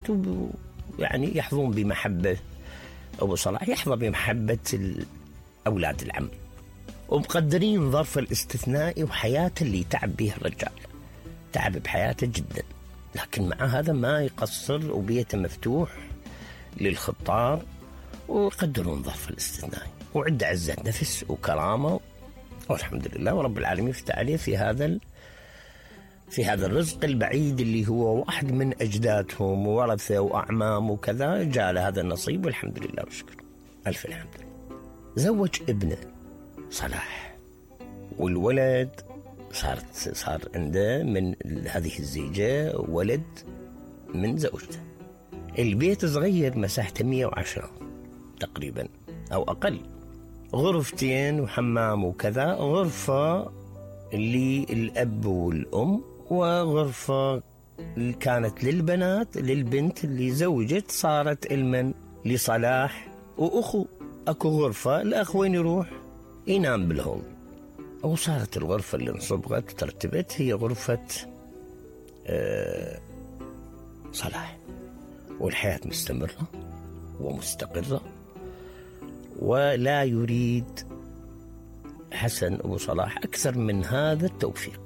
البنات يعني يحظون بمحبة أبو صلاح، يحظى بمحبة أولاد العم، ومقدرين ظرف الاستثنائي وحياته اللي تعب بها الرجال، تعب بحياته جدا، لكن مع هذا ما يقصر وبيته مفتوح للخطار، ويقدرون ظرف الاستثنائي، وعنده عزة نفس وكرامة، والحمد لله ورب العالمين يفتح عليه في هذا الرزق البعيد اللي هو واحد من أجدادهم وورثه وأعمام وكذا، جاء له هذا النصيب والحمد لله والشكر، ألف الحمد لله. زوج ابنه صلاح، والولد صار عنده من هذه الزيجة ولد من زوجته. البيت صغير مساحته 110 تقريبا أو أقل، غرفتين وحمام وكذا، غرفة للأب والأم، وغرفة كانت للبنات، للبنت اللي زوجت صارت المن لصلاح وأخو، أكو غرفة الأخ وين يروح ينام بالهول، وصارت الغرفة اللي انصبغت ترتبت هي غرفة صلاح، والحياة مستمرة ومستقرة، ولا يريد حسن أبو صلاح أكثر من هذا التوفيق.